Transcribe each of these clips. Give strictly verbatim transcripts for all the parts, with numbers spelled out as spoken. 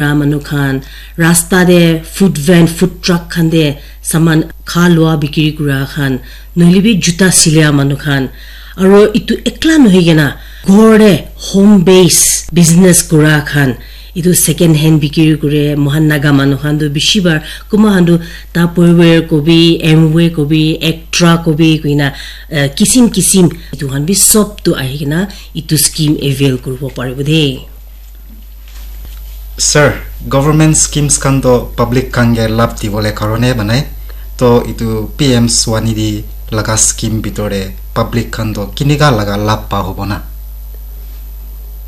kura manu khan, rasta te food van, food truck khan te saman kha lua bikiri kura khan, nohile bi juta silia manu khan, aro itu ekla nohoi kena ghor te home base business kura khan, itu second hand bikiri kure. Mohan Naga manu khan tu bishi bar, kuma khan tu Tupperware kobi, Amway kobi, Extra kobi kuina, eh, kisim kisim itu khan bi sob tu ahi kena itu scheme avail kuribo paribo de. Sir, government schemes khan to public khan ke lab dibole karone banai. To itu P M Swanidhi laga scheme bitore public khan to kinika laga lab pa hobo na?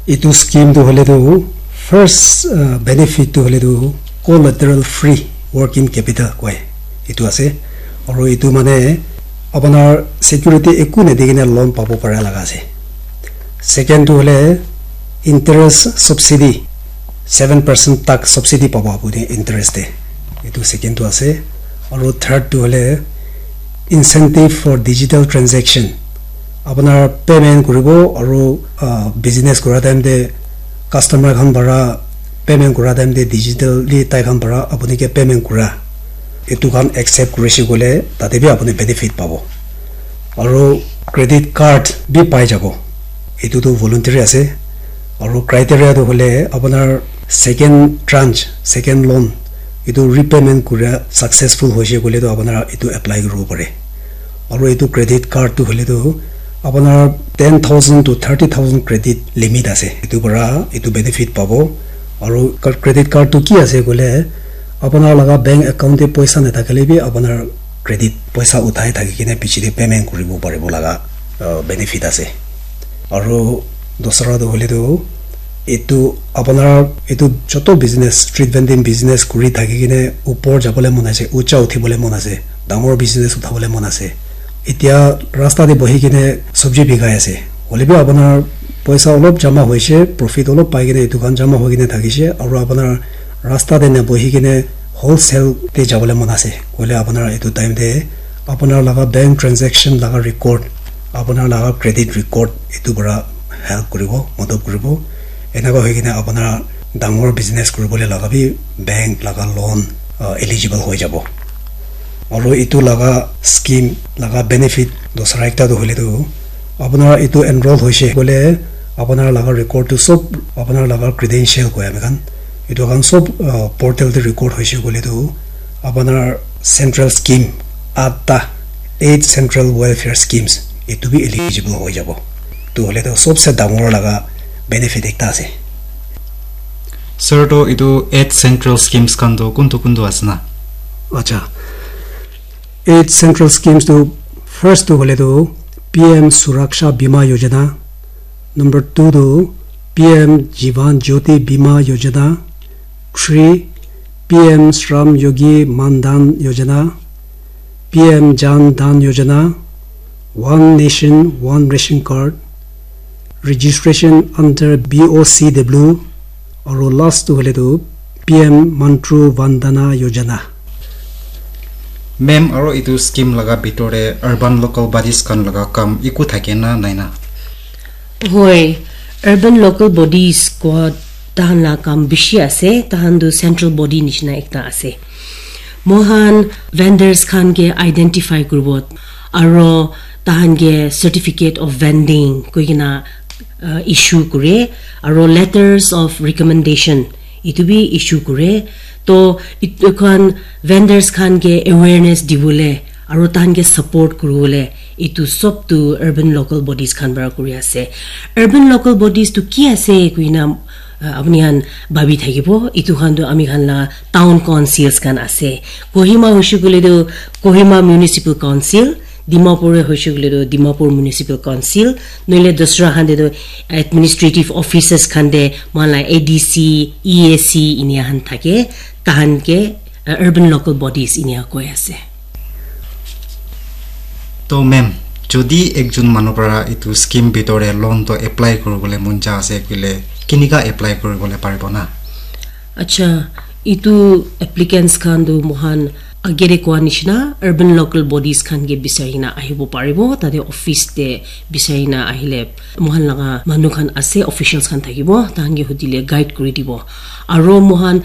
Itu scheme tu hoile tu first, uh, benefit tu hoile tu collateral free working capital koi itu ase. Aru itu mane apunar security eku nadi kena loan pabo para laga ase. Second tu hoile interest subsidy, seven percent tak subsidy pabo apuni interest te. Itu second tu ase. Aru third tu hoile incentive for digital transaction. Apunar payment kuribo aru, ah, business kura time te customer khan para payment kura time te digitally tai khan para apuni ke payment kura. Itu khan accept kurise koile tate bi apuni benefit pabo. Aru credit card bi pai jabo. Itu tu voluntary ase. Aru criteria tu hoile apunar second tranche, second loan, itu repayment kura successful hoise koile tu apunar itu apply kuribo pare. Aru itu credit card tu hoile tu apunar ten thousand to thirty thousand credit limit ase. Itu para itu benefit pabo. Aru credit card tu ki ase koile apunar laga bank account te poisa nathakile bi apunar credit poisa uthai thaki kena piche te payment kuribo paribo laga, uh, benefit ase. Aru dusra tu hoile tu itu apunar itu joto business, street vending business kuri thaki kena upor jabole mon ase, ucha uthibole mon ase, dangor business uthabole mon ase. Etia rasta te bohi kena sabji bikai ase. Hoile bi apunar poisa olop jama hoise, profit olop pai kena itu khan jama hoi kena thakise, aru apunar rasta te na bohi kena wholesale te jabole mon ase. Hoile apunar itu time te apunar laga bank transaction laga record, apunar laga credit record itu para help kuribo, madad kuribo. Enaka hoi kena apunar dangor business kuribole laga bi bank laga loan, uh, eligible hoi jabo. Aru itu laga scheme laga benefit dusra ekta tu hoile tu apunar itu enroll hoise koile apunar laga record tu sob apunar laga credential koi ami khan itu khan sob, uh, portal te record hoise koile tu apunar central scheme atta eight central welfare schemes itu bi eligible hoi jabo. Tu hoile tu sobse dangor laga benefit ekta ase. Sir, to itu eight central schemes khan to kuntu kuntu ase na? Acha. Eight central schemes tu first tu hoile tu P M Suraksha Bima Yojana, number two tu P M Jivan Jyoti Bima Yojana, three P M Shram Yogi Mandan Yojana, P M Jan Dhan Yojana, One Nation One Ration Card, registration under B O C W, aru last tu hoile tu P M Mantru Vandana Yojana. Ma'am, aro itu scheme laga bitor te urban local bodies khan laga kam iku thake na nai na? Hoi, urban local bodies ko tahan la kam bishi ase, tahan tu central body nishina ekta ase. Mohan vendors khan ke identify kuribo, aro tahan ke certificate of vending koi kena, uh, issue kure, aro letters of recommendation itu bi issue kure. To itu khan vendors khan ke awareness dibole aro tahan ke support kuribole itu sob tu urban local bodies khan para kuri ase. Urban local bodies tu ki ase kuina, uh, apuni khan bhabi thakibo, itu khan tu ami khan la town councils khan ase. Kohima hoishe koile tu Kohima Municipal Council, Dimapur hoishe koile tu Dimapur Municipal Council, noile dusra khan te tu administrative offices khan te mohan la A D C, E A C inia khan thake, tahan ke, uh, urban local bodies inia koi ase. To ma'am, jodi ekjon manu para itu scheme bitor te loan to apply kuribole mon ja ase koile kinika apply kuribole paribo na? Acha, itu applicants khan tu mohan Agere koa nishina urban local bodies khan ke bisari na ahibo paribo, tate office te bisari na ahile mohan laga manu khan ase, officials khan thakibo, tahan ke hudile guide kuri dibo. Aro mohan